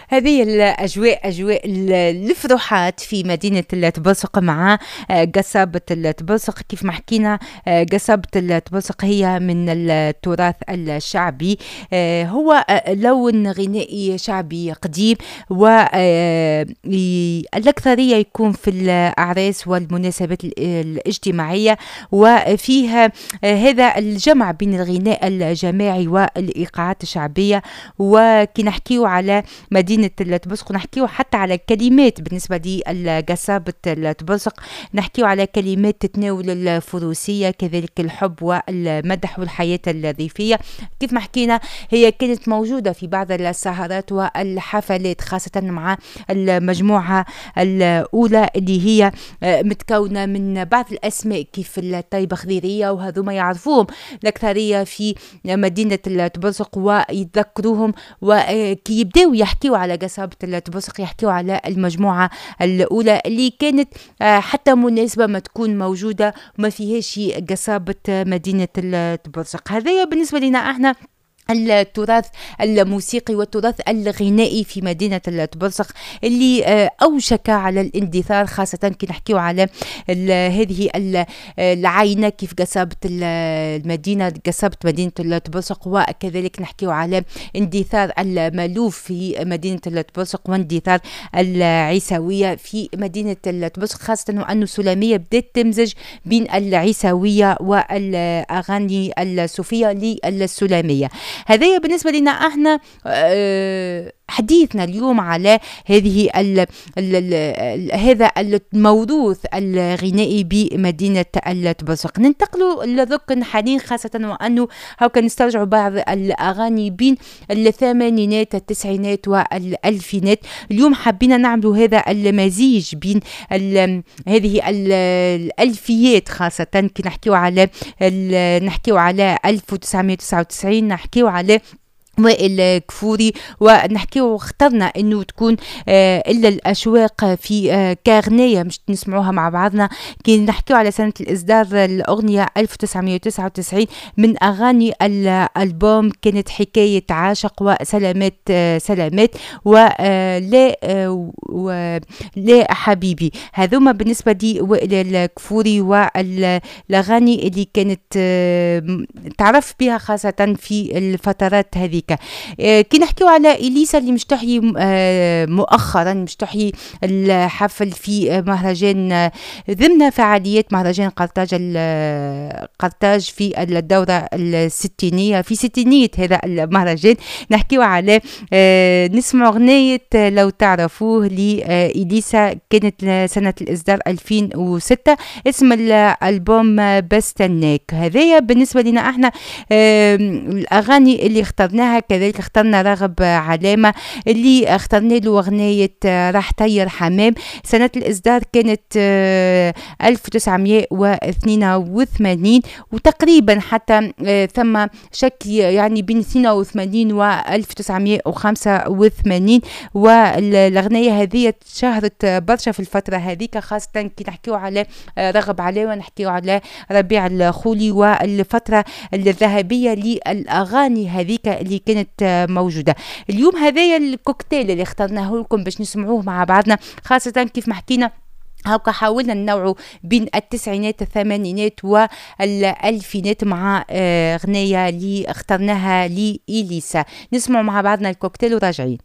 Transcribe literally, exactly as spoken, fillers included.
هذه الأجواء، أجواء الفروحات في مدينة التبرسق مع قصابة التبرسق. كيف ما حكينا، قصابة التبرسق هي من التراث الشعبي، هو لون غنائي شعبي قديم، والأكثرية يكون في الأعراس والمناسبات الاجتماعية، وفيها هذا الجمع بين الغناء الجماعي والإيقاعات الشعبية. وكي نحكيو على مدينة التبرسق نحكيو حتى على كلمات بالنسبة لقصابة التبرسق، نحكيو على كلمات تتناول الفروسية، كذلك الحب والمدح والحياة الريفية. كيف ما حكينا هي كانت موجودة في بعض السهرات والحفلات، خاصة مع المجموعة الأولى اللي هي متكونة من بعض الأسماء كيف الطيبة خضيرية، وهذوما يعرفوهم الأكثرية في مدينة التبرسق ويتذكروهم، وكي يبداو يحكيو على قصابة التبرسق يحكيو على المجموعة الأولى اللي كانت حتى مناسبة ما تكون موجودة وما فيهاش قصابة مدينة التبرسق. هذايا بالنسبة لنا احنا التراث الموسيقي والتراث الغنائي في مدينة التبرسق اللي أوشك على الاندثار، خاصة كي نحكيو على هذه العينة كيف قصابة المدينة، قصابة مدينة التبرسق، وكذلك نحكيو على اندثار المالوف في مدينة التبرسق واندثار العيساوية في مدينة التبرسق، خاصة وأن السلامية بدأت تمزج بين العيساوية والأغاني الصوفية للسلامية. هذايا بالنسبة لنا احنا حديثنا اليوم على هذه ال ال ال هذا الموروث الغنائي بمدينة التبرسق. ننتقلوا للركن حاليا، خاصة وأنه هاكا نسترجعوا بعض الأغاني بين الثمانينات التسعينات والألفينات. اليوم حبينا نعملوا هذا المزيج بين ال هذه الألفيات، خاصة كي نحكيو على نحكيو على ألف وتسعمية وتسعة وتسعين، نحكيو على وائل كفوري، ونحكيو اخترنا انه تكون آه الا الاشواق في آه كاغنيه مش نسمعوها مع بعضنا. كي نحكيو على سنة الاصدار الاغنية ألف وتسعمية وتسعة وتسعين من اغاني الالبوم كانت حكاية عاشق وسلامات آه سلامات ولا آه ولا حبيبي. هذوما بالنسبة لي وائل الكفوري والاغاني اللي كانت آه تعرف بها خاصة في الفترات هذيك. كي نحكيو على إليسا اللي مش تحيي مؤخرا، مش تحيي الحفل في مهرجان ضمن فعاليات مهرجان قرطاج قرطاج في الدورة الستينية، في ستينية هذا المهرجان. نحكيو على نسمع أغنية لو تعرفوه لإليسا، كانت سنة الإصدار ألفين وستة، اسم الألبوم بستناك. هذايا بالنسبة لنا احنا الأغاني اللي اخترناها. كذلك اخترنا راغب علامة اللي اخترنا له أغنية راح طير حمام، سنة الإصدار كانت ألف وتسعمية واثنين وثمانين، وتقريبا حتى ثم شك يعني بين اثنين وثمانين و ألف وتسعمية وخمسة وثمانين. والأغنية هذه شهرت برشا في الفترة هذيك، خاصة كي نحكيو على راغب علامة، نحكيو على ربيع الخولي والفترة الذهبية للأغاني هذيك اللي كانت موجودة. اليوم هذايا الكوكتيل اللي اخترناه لكم باش نسمعوه مع بعضنا، خاصة كيف ما حكينا هاكا حاولنا ننوعوا بين التسعينات الثمانينات والألفينات مع غنية اللي اخترناها لإليسا. نسمعوا مع بعضنا الكوكتيل وراجعين.